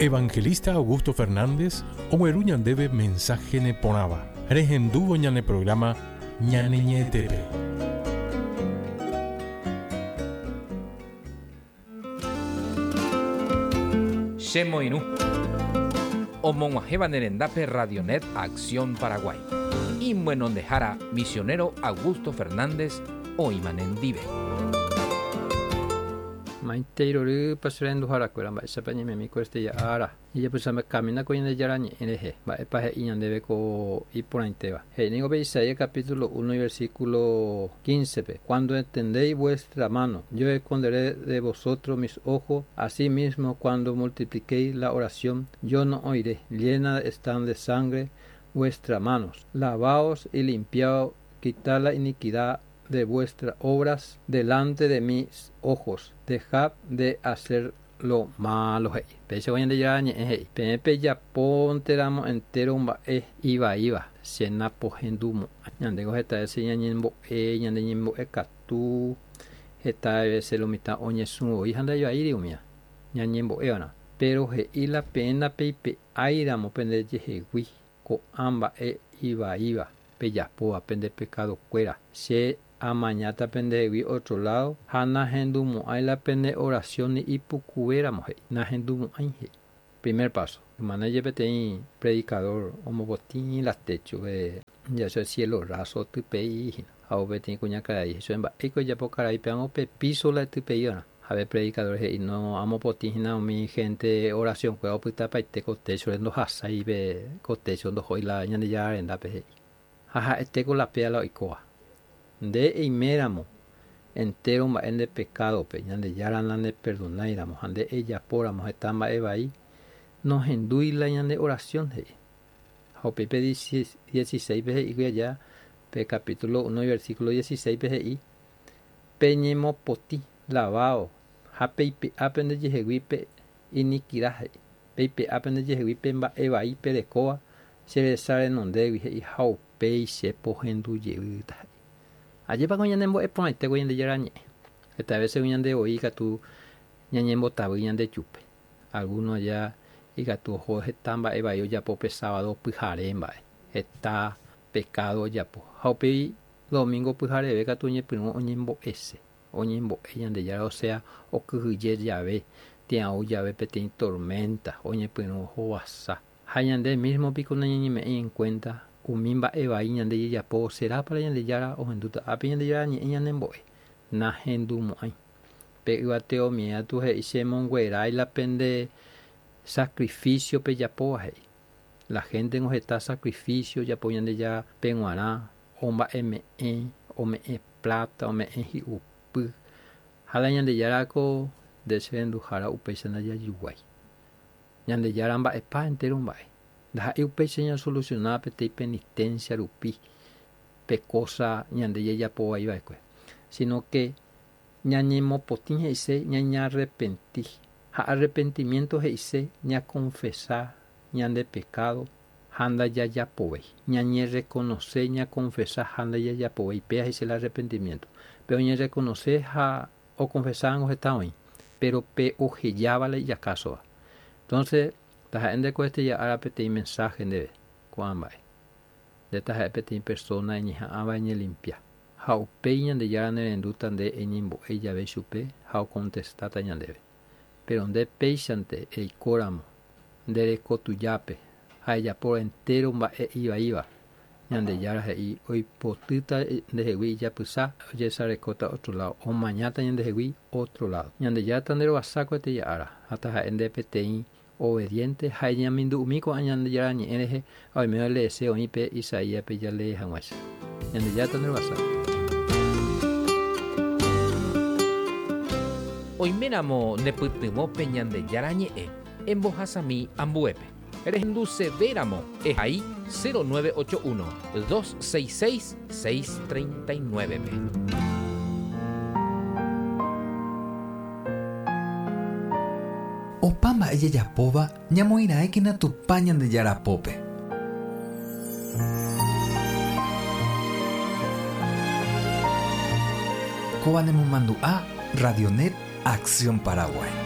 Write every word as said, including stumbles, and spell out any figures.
Evangelista Augusto Fernández ogueru ñandéve mensaje neporãva. Rehendúvo ñane programa Ñane Ñe'ẽtépe. Chemoirũ. Omog̃uahẽva nerendápe Radionet Acción Paraguay. Imyenondehára misionero Augusto Fernández oĩma nendive. Maitei rory paserenduharakuéra mba'éichapa ñaimemi ko este ára. Ijapysame ko Ñandejára ñe'ẽ rehe. Mba'épa he'i ñandéve ko iporãitéva. He'i pe Isaías capítulo uno y versículo quince pe. Cuando extendéis vuestra mano, yo esconderé de vosotros mis ojos. Asimismo, cuando multipliquéis la oración, yo no oiré. Llenas están de sangre vuestras manos. Lavaos y limpiaos, quitad la iniquidad de vuestras obras delante de mis ojos. Dejad de hacer lo malo. Hey. Péicha Ñandejára ñe'ẽ he'i. Peẽ pejaponteramo entero mba'e ivaíva. Che napohendumo'ã. Ñandéko heta veces ñañembo'e, ñande ñembo'e katu. Heta veces lo mitã oñesũvoi ha ndaivaíri umía. Ñañembo'éva'erã. Pero he'i la peẽ ndapeipe'áiramo pendejehegui ko'ã mba'e ivaíva pejapóva pende pekadokuéra. Che amañáta pendehegui otro lado ha nahendumo'ãi la pende oración ni ipukuvéramo he'i. Nahendumo'ãi he'i. Primer paso. Hermana, peteĩ predicador omopotĩ la techo de ya eso es cielo raso typei hína. Ha peteĩ kuñakarai he'i mba'éiko ojapo karai amo pe piso la typei'arã. Ha pe predicador he'i no amopotĩ hína umi gente oración kuéra opytapaite ko techo ndohasái pe ko techo ndohói la Ñandejára rendápe he'i. Ha ha'etéko la péa la oikóva. Nde eiméramo entero mba'e nde pekadope Ñandejára naneperdonáiramo ha nde ejapóramo heta mba'e vai nohendúi la ñande oración he'i. Ha upépe dieciséis pe he'i allá pe capítulo uno y versículo dieciséis pe he'i peñemopotĩ lavao ha peipe'a pendejehegui pe iniquidad he'i. Peipe'a pendejehegui pe mba'e vai perekóva che resa renondégui he'i ha upéi che pohendu jeýta he'i. Ajépa ko ñanembo'e porãite ko Ñandejára ñe'ẽ. Heta veces ñande voi katu ñañembotavy ñande chupe. Alguno allá ikatu oho heta mba'e vai ojapo pe sábado pyhare mba'e. Heta pecado ojapo. Ha upéi domingo pyhareve katu oñepyrũ oñembo'ese. Oñembo'e Ñandejára, o sea, okyhyje jave, tia'u jave peteĩ tormenta, oñepyrũ ohovasa. Ha ñande mismo piko nañañeme'ẽi en cuenta umi mba'e vai ñande jajapo será para Ñandejára ohendúta. Ápe Ñandejára ñe'ẽ ñanembo'e. Nahendumo'ãi. Pe yvateomiéva tu he'i chemonguerái la pende sacrificio pejapóva he'i. La gente no heta sacrificio ojapo Ñandejára peg̃uarã, omba'eme'ẽ, ome'ẽ plata, ome'ẽ hi'upy. Ha la Ñandejára ko nde cherenduhára upéicha ndajayguái. Ñandejára mba'epa entero mba'e. Ndaha'éi upéicha ñasolucionaba peteĩ penitencia rupi pe cosa ñande jajapovaiva'ekue. Sino que ñañemopotĩ he'ise ñañarrepenti. Ha arrepentimiento he'ise ñaconfesa ñande pecado ha ndajajapovéi. Ñañereconoce, ñaconfesa ha ndajajapovéi. Péa he'ise el arrepentimiento. Pero ñareconoce ha oconfesávango heta oĩ. Pero pe ohejáva la ijacásova. Entonces, taha'e ndeko este ára peteĩ mensaje ndéve ko'ã mba'e. Nde taha'e peteĩ persona eñeha'ãva eñelimpia. Ha upéi Ñandejára nerendúta nde eñembo'e jave chupe ha ocontestáta ñandéve. Pero nde péichante eikóramo nde rekotujápe ha ejapo entero mba'e ivaíva. Ñandejára he'i oipotýta ndehegui ijapysa ojesarekóta otro lado, omañáta ñandehegui otro lado. Ñandejára nderovasa ko este ára ha taha'e nde peteĩ obediente ha eñamindu'umi ko'ã Ñandejára ñe'ẽ rehe ha oime leese oĩ pe Isaías pe jalee hag̃uáicha. Ñandejára nderovasa. Oiméramo nepytyvõpe Ñandejára ñe'ẽ embohasami ambuépe. Rehendusevéramo ehai cero nueve ocho uno, dos seis seis, seis treinta y nueve pe. Opa mba'e jajapóva ñamoĩrãékena Tupã Ñandejára pópe. Kóva nemomandu'a Radionet Acción Paraguay.